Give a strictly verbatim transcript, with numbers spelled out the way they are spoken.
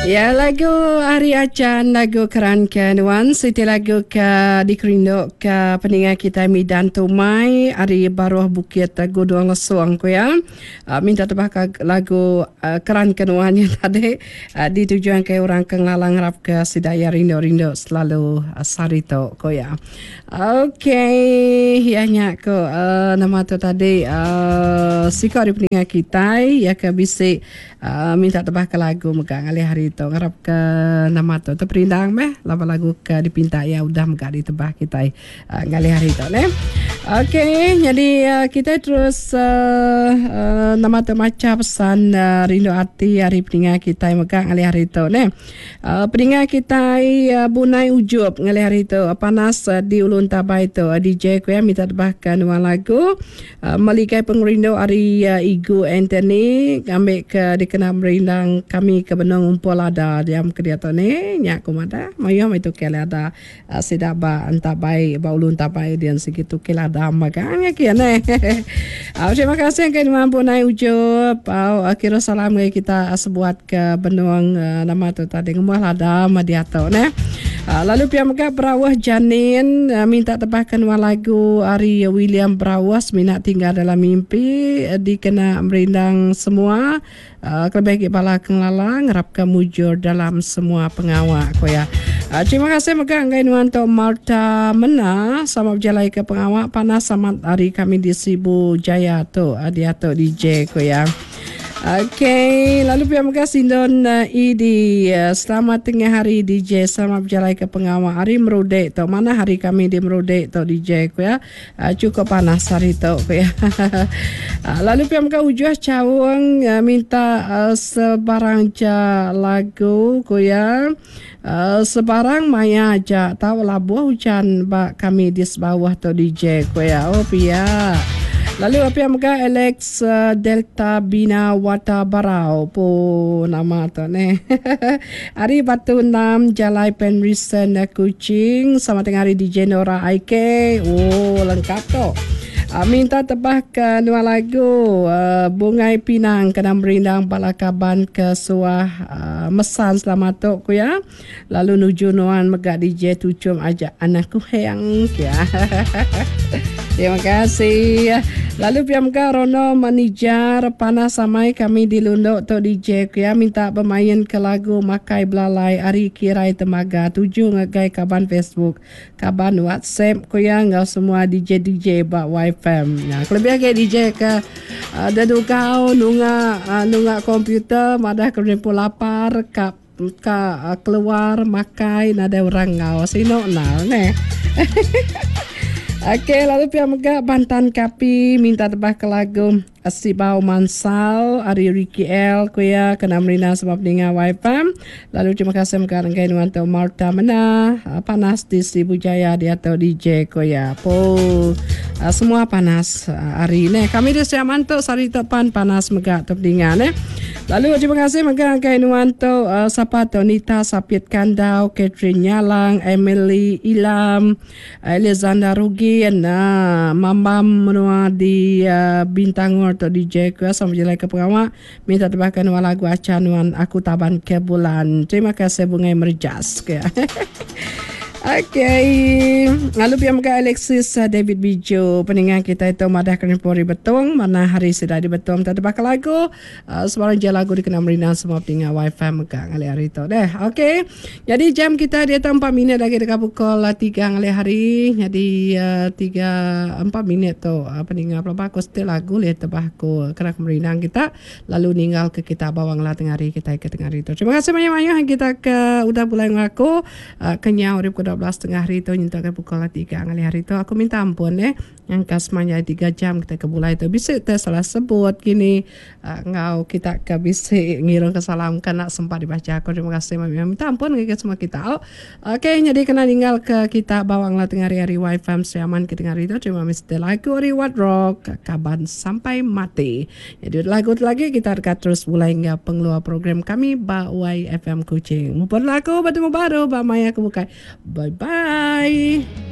Ya, lagu Ari Acan, lagu Keran ke Nuan, siti lagu ke dikerindu ke peninga kita Midan Tumai ari baruh Bukit Gudung Lesung ku ya. Uh, minta tebah ke lagu uh, Keran ke Nuan nya tadi uh, ditujuan ke orang ke ngelalang ngarap ke sida ya rindu-rindu selalu uh, sehari tu ku ya. Okey, ya nya ko uh, nama tu tadi uh, siko ari peninga kita ya ke bisi uh, minta tebah ke lagu mega ngalih hari tu. Ngarap ke nama tu terperindang meh laban lagu ke dipinta ya udah mega ditebah kita uh, ngalih hari tu ne. Okey, jadi uh, kita terus uh, uh, nama tu maca pesan uh, rindu ati hari peninga kita mega ngalih hari tu ne. Uh, peninga kita uh, Bunai Ujup ngalih hari tu uh, panas uh, di Ulun Tabai tu uh, D J ku ya minta tebahkan nuan lagu uh, Meligai Pengerindu ari uh, Igu Anthony ngambil ke dikena merindang kami ke benung umpul ada diam ke dia tu ni nyak ku madah mayuh mai tu ke ada uh, sida ba entabai ba Ulun Tabai dian segitu ke lada magangnya kia ne. Uh, terima kasih ke nuan Bunai Ujup. Uh, kira salam ke kita sebuat ke benung uh, nama tu tadi ngemuah lada ma dia tu ne. Uh, lalu pia mega Berawah Janin uh, minta tebahkan nuan lagu ari William Berawah Minat Tinggal Dalam Mimpi uh, dikena merindang semua uh, kelebih lagi bala kenglala ngarap ke mujur dalam semua pengawak ko ya. Uh, terima kasih mega ngai nuan tu Marta Mena sama berjalai ke pengawak panas sama hari kami di Sibu Jaya tu uh, dia tu D J ko ya. Okey, lalu pihak mega Sindon uh, E D uh, selamat tengah hari D J, selamat berjalai ke pengawak hari Merudek tu. Mana hari kami di Merudek tu D J ku ya. Uh, cukup panas hari tu ku ya. Uh, lalu pihak mega Ujuh Caung uh, minta uh, sebarang ja lagu ku ya. Uh, sebarang maya aja tahu labuh hujan ba kami di bawah tu D J ku ya. Oh pia. Lalu apa yang mega Alex uh, Delta Bina Wata Barau po nama tu ne. Hari Batu Enam Jalai Penrisen Kuching sama tengah hari D J Nora I K. Oh lengkap tu. Uh, minta tebah ke dua lagu uh, Bungai Pinang kena merindang bala kaban ke suah uh, mesan selamat tu ku ya. Lalu nuju nuan mega D J tucum ajak anakku heng ya. Terima kasih. Lalu pihak mega Rono Manijar panas samai kami di Lundok tu D J ku ya minta bermain ke lagu Makai Belalai Ari Kirai Temaga tuju ngagai kaban Facebook, kaban WhatsApp ku ya ngau semua D J D J ba Y F M. Nah, kelebih lagi D J ke uh, dedugau nunga uh, nunga komputer madah ke rimpu lapar ka ka uh, keluar makai nada orang ngau sino nal ne. Okey, lalu pihak mega Bantan Kapi minta tebah ke lagu Sibau Mansal Ari Ricky L ku ya kena merina sebab ninga Y F M. Lalu terima kasih mega renggai nuan tu Marta Mena panas di Sibu Jaya dia atau D J ku ya. Po semua panas hari ni. Kami di Siaman tu sari tepan panas mega tu ninga ne. Lalu terima kasih mega renggai nuan tu sapa tu Nita Sapit Kandau, Catherine Nyalang, Emily Ilam, Alexander Rugi, nah, Mamam menua di uh, Bintangor atau D J ku sama jelai ke pengawak minta tebahkan nuan lagu acanuan aku taban ke bulan. Terima kasih Bungai Merjas ke. Okey, lalu pihak mega Alexis David Bijo peningan kita itu madah kena pori betung mana hari sudah di betung tak tebak lagu uh, sebarang je lagu dikena merina semua peningan Y F M mega ngalih hari tu deh. Okey, jadi jam kita dia empat minit lagi dekat pukul tiga ngalih hari. Jadi uh, tiga empat minit tu uh, peningan pelabah aku setel lagu lihat tebah aku kena merinang kita lalu ninggal ke kita bawang lah tengah hari kita ke tengah hari tu. Terima kasih banyak-banyak kita ke udah bulan aku uh, kenyau ribu dua belas tengah hari tu nyentuh ke pukul tiga ngalih hari tu aku minta ampun eh yang kasmanya tiga jam kita ke bulai tu bisa tersalah sebut gini uh, ngau kita ke bisa ngiring ke salam kena sempat dibaca aku terima kasih minta ampun ke semua kita. Oh, okey jadi kena tinggal ke kita bawang lah tengah hari hari Y F M Siaman ke tengah hari tu terima kasih lagu Reward Rock kaban sampai mati. Jadi lagu lagi kita dekat terus mulai hingga pengeluar program kami ba Y F M Kuching. Mumpun lagu bertemu baru ba Maya aku bukai. Bye bye.